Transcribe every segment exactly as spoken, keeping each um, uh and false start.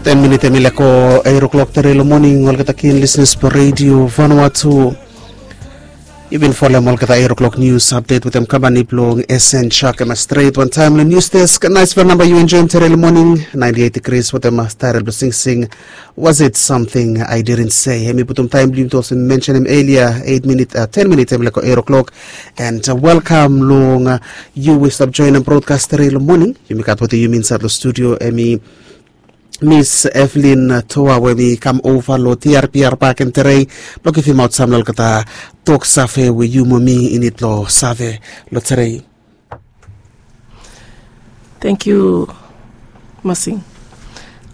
Ten minit em i leko eight o'clock tere long moning, olgeta kin listeners blong Radio Vanuatu. Yu bin folem olgeta eight o'clock news update wetem kampani blong S N Shark em stret wantaem long news desk. Naispela namba yu enjoem tere long moning, ninety eight degrees wetem taerel blong singsing, Was it something I didn't say? Em i putum taem blong yumi tu olsem mensenem elia, eight minit, ten minit em i leko eight o'clock. And welkam long yu we stap joenem brodkas tere long moning. Yumi gat wetem yumi insaed long studio em i Miss Evelyn Toa we mi kam ova long T R P R Park and Terei blong givimaot sam long olgeta tok save we yu mo mi i nid long save long terei. Thank you, Masing.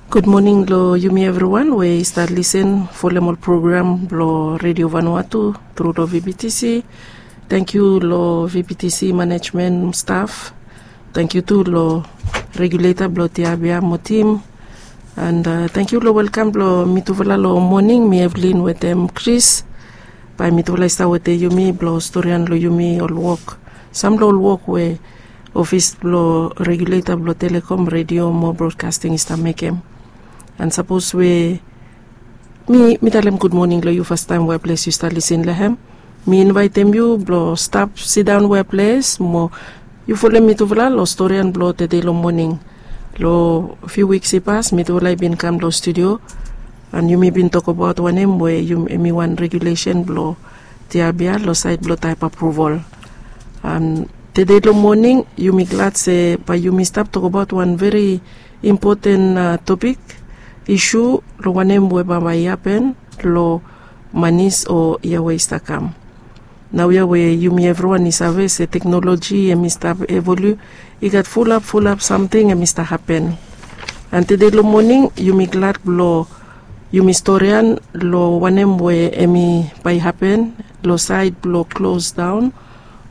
Good morning long yumi evriwan we i stap lisen folem ol program blong Radio Vanuatu tru long V B T C. Thank you long V B T C management staff. Thank you tu long regulator blong Tiabia mo tim. And thank you long welkam blong mitufala long moning, mi Evelyn wetem Chris. Bae mitufala i stap wetem yumi blong storian long yumi ol wok, sam long ol wok we ofis blong regulator blong Telecom Radio mo Broadcasting i stap mekem. And sapos we mi mi talem gud moning long yu fastaem we ples yu stap lisen long hem, mi invaetem yu blong stap sidaon we ples mo yu folem mitufala long storian blong tede long moning. Long fiu wiks i pas mitufala i bin kam long studio, and yumi bin tokbaot wanem we em i wan regulesen blong Tiabia long saed blong taep apruval. And tede long moning yumi glad se bae yumi stap tokbaot wan veri impoten topik, isu long wanem we bambae i hapen long manis o yia we i stap kam. Naoia we yumi evriwan i save se teknoloji em i stap evolu, i gat fulap fulap samting em i stap hapen. And tede long moning yumi glad blong yumi storian long wanem we em i bae hapen long saed blong klosdaon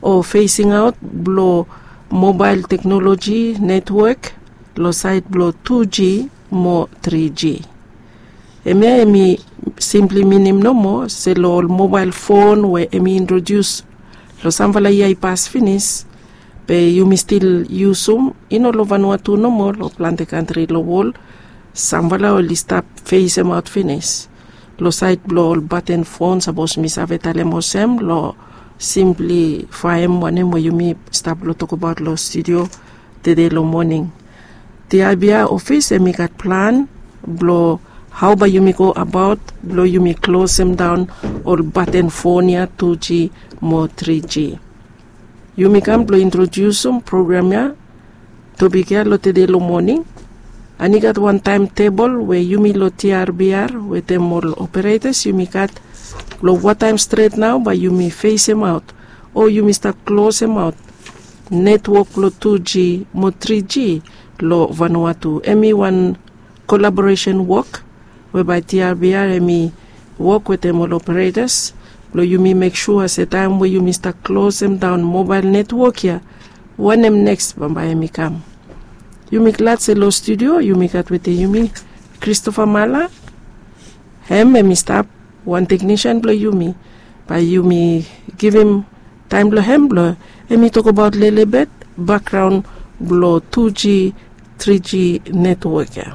o fesingaot blong mobael teknoloji netwok long saed blong tu G mo tri G. Hemia em i simpli minim nomo se long ol mobael fon we em i introdius long samfala yia i pas finis, be yumi stil yusum i no long Vanuatu nomo, long plante kantri long wol samfala oli stap fesemaot finis long saed blong ol baten fon, sapos mi save talem olsem, long simplifaem wanem we yumi stap long tokbaot long studio tede long moning. Tiabia ofis em i gat plan blong hao bae yumi go abaot blong yumi klosemdaon ol baten fon ya, tu G mo tri G. Yumi kam blong introdiusum program ya, topik ya long tede long moning. And i gat wan taemtebol we yumi long T R B R wetem ol operetas yumi gat blong wataem stret nao bae yumi fesemaot o yumi stap klosemaot netwok blong tu G mo tri G long Vanuatu. Em i wan kolaboresen wok we bae T R B R em i wok wetem ol operetas blong yumi mek sua se taem we yumi stap klosemdaon mobael netwok ya, wanem neks bambae em i kam. Yumi glad se long studio yumi gat wetem yumi Christopher Mala. Hem em i stap wan teknisian blong yumi. Bae yumi givim taem blong hem blong em i tokbaot lelebet bakgraon blong tu G tri G netwok ya.